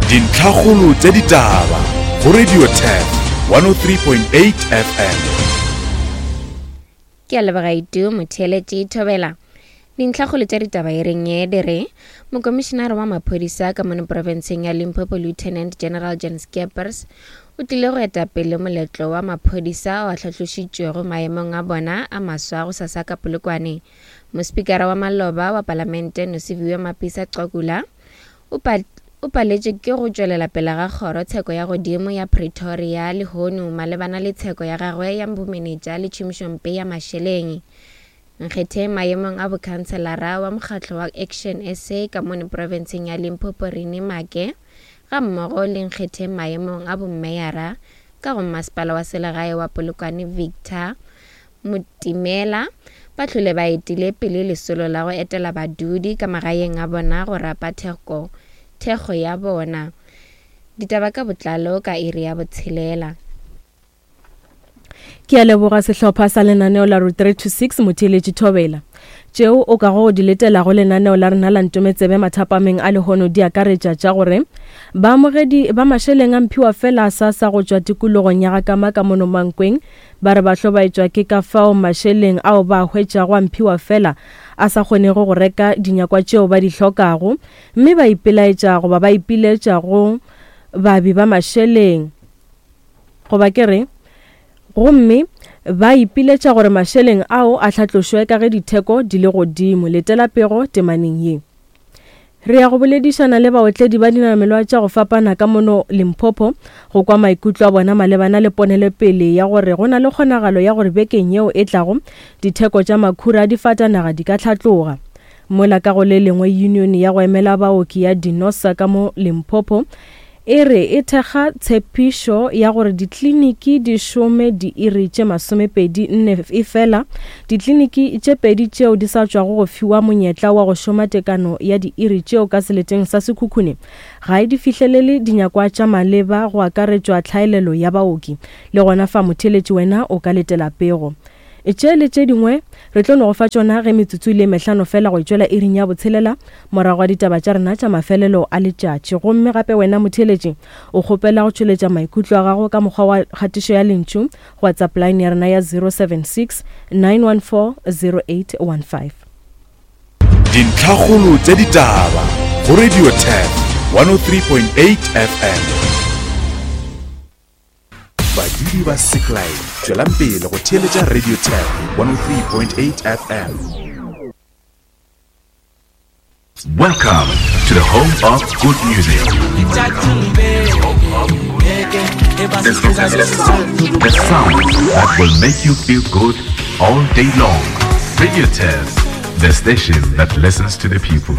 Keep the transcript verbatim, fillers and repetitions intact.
Dintlhakgolo tša ditaba go Radio Turf one oh three point eight F M. Ke a leboga Itu motheeletši Thobela. Dintlhakgolo tša ditaba e reng ye di re mokomišenare wa maphodisa ka mono profenseng ya Limpopo Lieutenant General Jan Skeepers o tlile go eta pele moletlo wa maphodisa o a hlahlošitšwego maemong a bona a maswa go sasa ka Polokwane. Mospikara wa maloba wa palamente Nosiviwe Mapisa Nqakula o pa o paletše ke go tšwelela pele ga kgoro tsheko ya godimo ya Pretoria lehono malebana le tsheko ya gagwe ya bomenetša le tšhomišompe ya mašeleng. Nkgetheng maemong a bokhanselara wa mokgatlo wa Action S A ka mono profenseng ya Limpopo Rene Make ga mmogo le nkgetheng maemong a bommeyara ka go masepala wa selegae wa Polokwane Victor Motimela ba hlole ba etile pele lesolo la go etela badudi ka magaeng a bona go rapa theko thekgo ya bona. Ditaba ka botlalo ka iri ya botshelela. Ke a leboga sehlopha sa lenaneo la Route three two six motheeletši Thobela. Tšeo o ka go di letela go lenaneo la rena la Ntometsebe mathapameng a lehono di akaretša tša gore baamogedi ba mašeleng a mphiwa fela sa sa go tšwa tikologong ya Gakama ka mono Mankweng ba re ba hlobaetšwa ke ka fao mašeleng ao ba hwetšago a mphiwa fela a sa kgonego go reka dinyakwa tšeo ba di hlokago, mme ba ipelaetša goba ba ipiletša go babi ba mašeleng goba ke re gomme ba ipiletša gore mašeleng ao a hlatlošwe ka ge ditheko di le godimo. Letela pego temaneng ye. Re ya go boledišana le baotledi ba dinamelwa tša go fapana ka mono Limpopo go kwa maikutlo a bona malebana le ponelopele ya gore go na le kgonagalo ya gore bekeng yeo e tlago ditheko tša makhura a difatanaga di ka hlatloga. Mola ka go le lengwe union ya go emela baoki ya Dinosa ka mo Limpopo e re e thekga tshepišo ya gore dikliniki di šome diiri tše masomepedi nne e fela dikliniki tše pedi tšeo di sa tšwago go fiwa monyetla wa go šoma tekano ya diiri tšeo ka seleteng sa Sekhukhune ga e di fihlelele dinyakwa tša maleba go akaretšwa tlhaelelo ya baoki. Le gona fa motheeletši wena o ka letela pego. Tše le tše dingwe re tlo no go fa tšona ge metsotso le mehlano fela go tšwela iring ya botshelela morago ga ditaba tša rena tša mafelelo a letšatši. Gomme gape wena motheeletši o kgopela go tšweletša maikutlo a gago ka mokgwa wa kgatišo ya lentšu go WhatsApp line ya rena ya zero seven six nine one four zero eight one five. Dintlhakgolo tša ditaba go Radio Turf one oh three point eight F M. Badudi ba Seklai, tšwelang pele go theeletša Radio Turf one oh three point eight F M. Welcome to the home of good music. The sound that will make you feel good all day long. Radio Turf, the station that listens to the people.